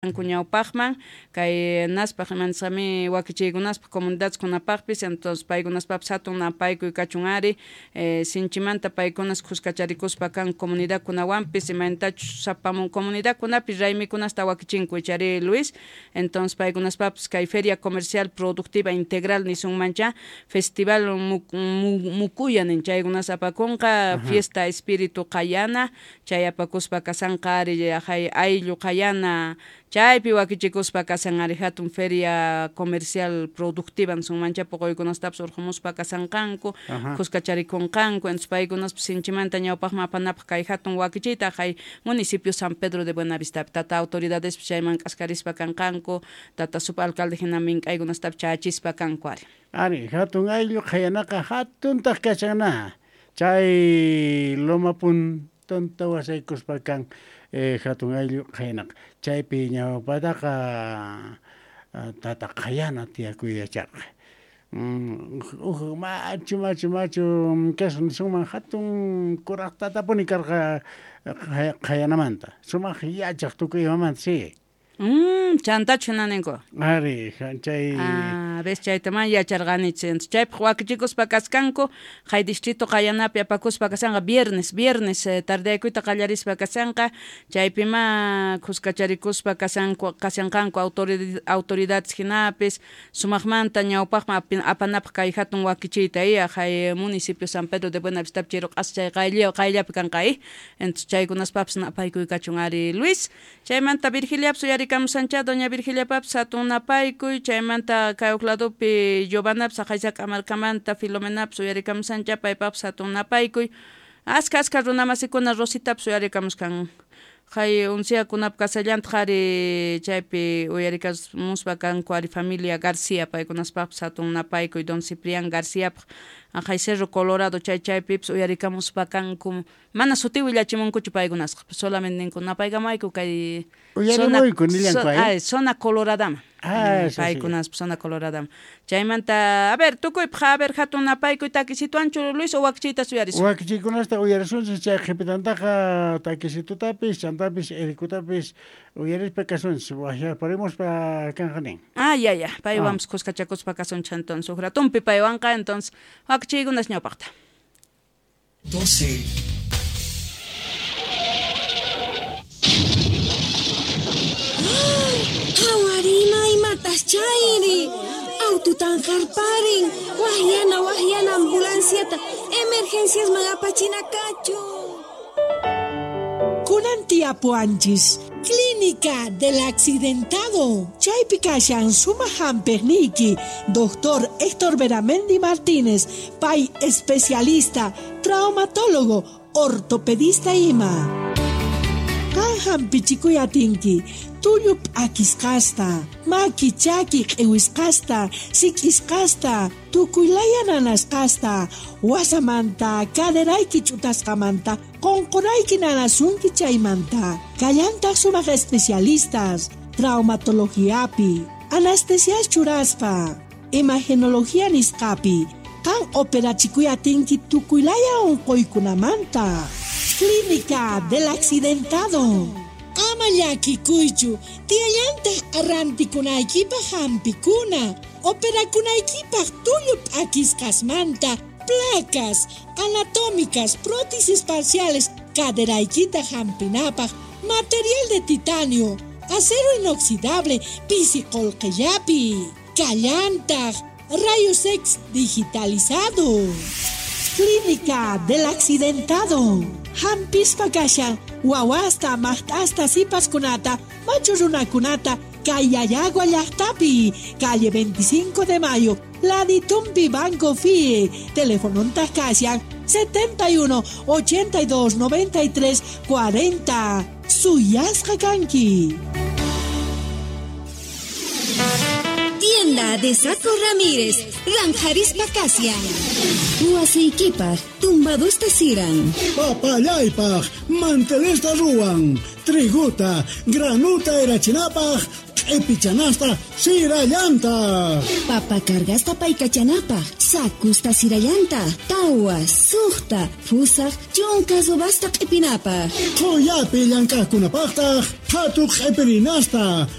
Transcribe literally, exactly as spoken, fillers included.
Ñawpaqman kay naspaq imanisqami wakichiykunaspaq comunidadkunapaqpis entonces paykunaspapis hatun napaykuy kachun ari eh, sinchimanta paykunas kuskacharikuspa kan comunidadkunawanpis imaynatachus sapamun comunidadkunapi raymikunasta wakichinku ichari Luis entonces paykunaspapis kay feria comercial productiva integral nisunmancha festival mukuya nin chaykunas apakunqa fiesta espíritu qayana chay apakuspa kasanqa ari ayllu qayana chaypi wakichikuspa kasan ari hatun feria comercial productiva nisunmancha puquykunastapis urqumuspa kasanqanku kuskacharikunqanku entonces paykunaspis sinchimanta ñawpaqman apanapaq kay hatun wakichiyta hay municipio San Pedro de Buenavistapi tata autoridadespis chayman k'askarispa kanqanku tata subalcalde hina mink'aykunastapis chayachispa kanku ari ari hatun ayllu qayanaqa hatuntaq kachana chay loma puntonta wasaykuspa kan eh, hatun ayllu qayanaqa chaypi ñawpataqa tata qayana tiyakuy yacharqa uj machu machu machu kasqa nisunman hatun kuraq tatapuni karqa qayanamanta sumaq yachaq tukuy imamanta si Mm, chantachu hina ninku ari chay ah ves chayta man yacharqanichu entonces chaypaq wakichikuspa kaskanku hay distrito qayanapi apakuspa kasanqa viernes viernes eh, tardeaykuyta qallarispa kasanqa chaypima kuskacharikuspa kasanku kasanqanku autoridad autoridades hinapis sumaqmanta ñawpaqman apanapaq kay hatun wakichiyta iya hay municipio San Pedro de Buenavistapi chiru q'asa chay qaylla qayllapi kanqa i entonces chaykunaspapis napaykuy kachun ari Luis chaymanta Virgiliapis uyari kamusancha doña Virgiliapapis hatun napaykuy chaymanta kay huk ladopi Giovanapis Aqaysaka markamanta Filomenapis uyarikamusancha paypapis hatun napaykuy aska aska runamasikuna Rositapis uyarikamuskan hay unsiakunap kasallantaq ari chaypi uyarikamuspa kanku ari familia García paykunaspapis hatun napaykuy don Ciprián Garciapaq hay Cerro Colorado chay chaypipis uyarikamuspa kanku mana suti willachimunkuchu paykunasqa solamente ninku napaykamayku kay uyarimuyku nillanku ay zona coloradama ah paykunaspa zona coloradama chaymanta a ver tukuypaq a ver hatun napaykuy takisituanchu Luis o wakichiytas uyarisun wakichiykunasta uyarisunchis chay qhipitantaqa takisitutapis chantapis erikutapis uyarispa kasunchis waqyaparimuspa kanqa nin ah ya ya paywanpis kuskachakuspa kasunchis entonces huk ratunpi paywanqa entonces wakichiykunas ñawpaqta doce Hawarima imatas chayri aututan harparin wahyana wahyana ambulanciata emergencias magapachina kachu Kunan tiapuanchis Clínica del Accidentado Chaypi kashan suma hamperniki Doctor Héctor Beramendi Martínez pay especialista traumatólogo ortopedista ima Qan hampichikuy atinki tullu p'akisqasta maki chaki q'iwisqasta sik'isqasta tukuylaya nanasqasta wasamanta caderayki ch'utasqamanta qunqurayki nanasunki chaymanta kallantaq sumaq especialistas traumatologiapi anestesias churaspa imagenología nisqapi qan operachikuy atinki tukuylaya unquykunamanta Clínica del Accidentado Ama llakikuychu tiyallantaq arrantikunaykipaq hampikuna operakunaykipaq tullu p'akisqasmanta placas anatómicas prótesis parciales caderaykita hampinapaq material de titanio acero inoxidable pisi qullqillapi kallantaq rayos X digitalizado Clínica del Accidentado Hampispa kashan wawasta maqt'asta sipaskunata machu runakunata kay Llallagua llaqtapi calle veinticinco de mayo Laditumpi Banco F I E telefonontaq kashan setenta y uno ochenta y dos noventa y tres cuarenta Suyasqa kanki Tienda de Saco Ramírez, Ranjarispa Casian. Huasiykipaq, tumbadusta siran. Papallaypaq, mantelesta ruwan. Triguta, granuta erachinapaq, q'ipichanasta sirallantaq. Papa cargasta paykachanapaq, sakusta sirallanta, tawa, suqta, pusaq, chunka subasta q'ipinapaq. Qhuyapi llank'aqkunapaqtaq, phatu q'ipirinasta,